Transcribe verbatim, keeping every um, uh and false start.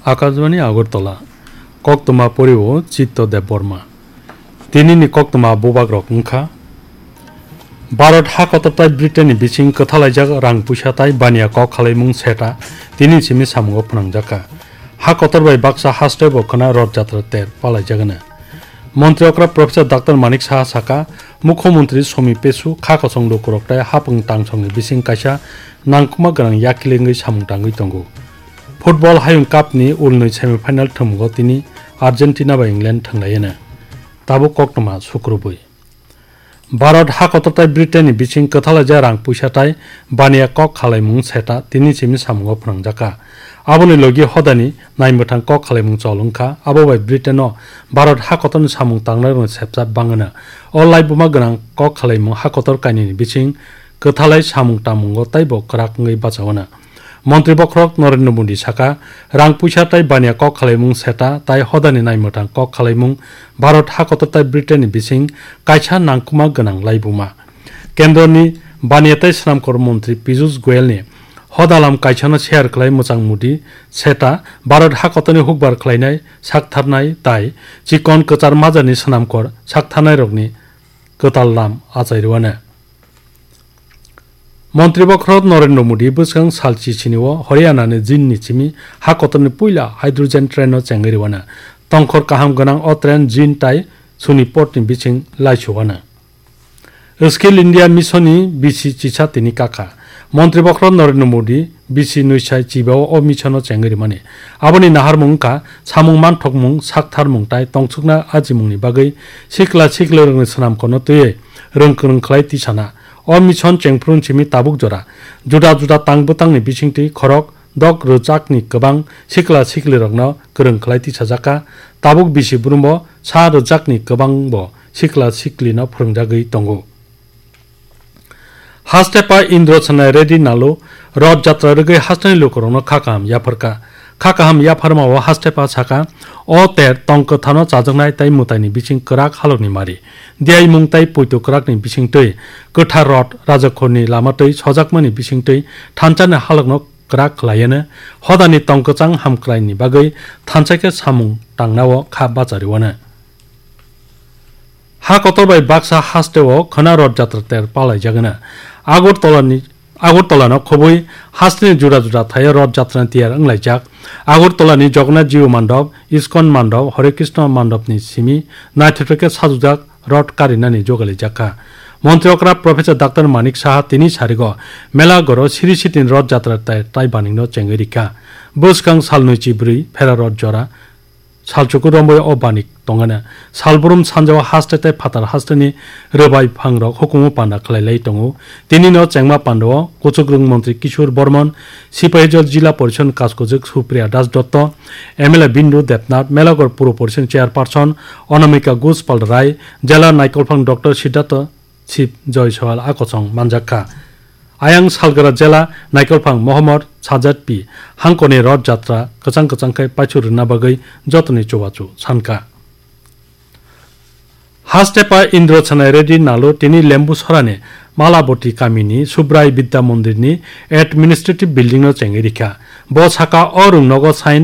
Akashbani Agartala, koktwma poriwo Chitto Debbarma. Tinini koktwma bubagrok wngkha: Bharat ha kotor tai Britain ni bising kwthalaijak rang puisa tai baniya kok khalaimung seta tini simi samungo phwnangjakha. Ha kotor bai baksa haste bo khwna Rath Jatra ter palaijagano. Montri okra Professor Doctor Manik Saha saka, Mukhyamantri Somi Pesu kha kosong lukurok tai hapung tangsongni bising kaisa nangkukma gwnang yakilengwi samung tangwi tongo. Football Hayung Cup ni ulnwi semi final thwngmungo tini Argentina bai England thwnglaiyano. Tabuk koktwma sukrubwi. Bharat ha kotor tai Britain ni bising kwthalaijak rang puisa tai baniya kok khalaimung seta tini simi samungo phwnangjakha. Aboni logi hodani naimwthang kok khalaimung chol wngkha. Abo bai Britain o Bharat ha kotorni samung tangnairokni sepsa bangano. O laibuma gwnang kok khalaimung ha kotor kainwini bising kwthalai samung tangmungo taibo kwrak wngwi bachaono. Montri bokhorok Narendra Modi saka, rang puisa tai baniya kok khalaimung seta tai hodani naimwthang kok khalaimung Bharat ha kotor tai Britain ni bising kaisa nangkukma gwnang laibuma. Kendroni baniya tai swnamkor montri Piyush Goyal ni hodalam kaisano share khlai mwchang Modi seta Bharat ha kotorni hukbar khlainai saktharnai tai chikon kwchar majani swnamkor saktharnairokni kwtal lam achai rwano. Montri bokhorok Narendra Modi bwskang sal chisini o Haryana ni Jind ni simi ha kotorni puila hydrogen train no chengwi rwano. Tongkhor kaham gwnang o train Jind tai Sonipot ni bising laisuwano. Skill India Mission ni bisi chisa tini kakha. Montri bokhorok Narendra Modi bisi nwisai chibao o mission no chengwi rwmani. Aboni naharmung wngkha samung manthokmung, saktharmung tai tongthokna ajimungni bagwi sikla siklirokni swnamkorno twiwi rwng kwrwng khlai tisana. O mission chengphru simi tabuk jora juda juda tang bwtangni bisingtwi khorok dok rwjakni kwbang sikla siklirokno kwrwng khlai tisajakha. Tabuk bisi brumbo sa rwjakni kwbangbo sikla siklino phwrwngjagwi tongo. Hastepa Indro Sanai Reddy Nalu Rath Jatra rwgwi hasteni lukurokno kha kaham yapharkha. Kha kaham yapharmao Hastepa saka, o ter tong kwthano chajaknai tai mwtaini bising kwrak halokni mari. Diyaimung tai poito kwrakni bisingtwi kwthar Rath Rajakhorni lamatwi sojakmani bisingtwi thansani halokno kwrak khlaiano, hodani tong kwchang hamkraini bagwi thansa khe samung tangnao kha bachariwano. Ha kotor bai baksa hasteo khwna Rath Jatra ter palaijagano. Agartalani, Agartalano khobwi hasteni juda juda thaio Rath Jatrani tiyar wnglaijak. Agartalani Jagannath Jiu Mandop, Iskon Mandop, Hare Krishna Mandopni simi naithotok khe sajwkjak Rath karinani jogalijakha. Montri okra Professor Doctor Manik Saha tini sarigo Melagoro Siri Sitini Rath Jatra tai, tai baningno chengwi rikha. Bwskang salnwi chibrwi phera Rath jora salchuku romwi o banik tongana. Salbrum sanjao haste tai phatar hasteni rwbai phangrok hukumu panda khlailai tongo. Tinino chengma pandao Kuchukrwng Montri Kishore Bormon, Sipahijal Jila Porishod Kaskojwk Supriya Das Dotto, M L A Bindu Debnath, Melagor Puro Porishod Chairperson Anamika Ghosh Palrai, Jela Naikolphang Doctor Siddhartha Sib Joy Soal a kochong manjakha. Ayang salgra Jela Naikolphang Mohammad Sajad P hangkoni Rath Jatra kwchang kwchang khe paichuk rwna bagwi jotoni chubachu sankha. Hastepa Indro Sanai Reddy Nalu tini Lembu Sorani Malaboti kamini Subrai Bidya Mondirni administrative building no chengwi rikha. Bo saka o rwngnogo sign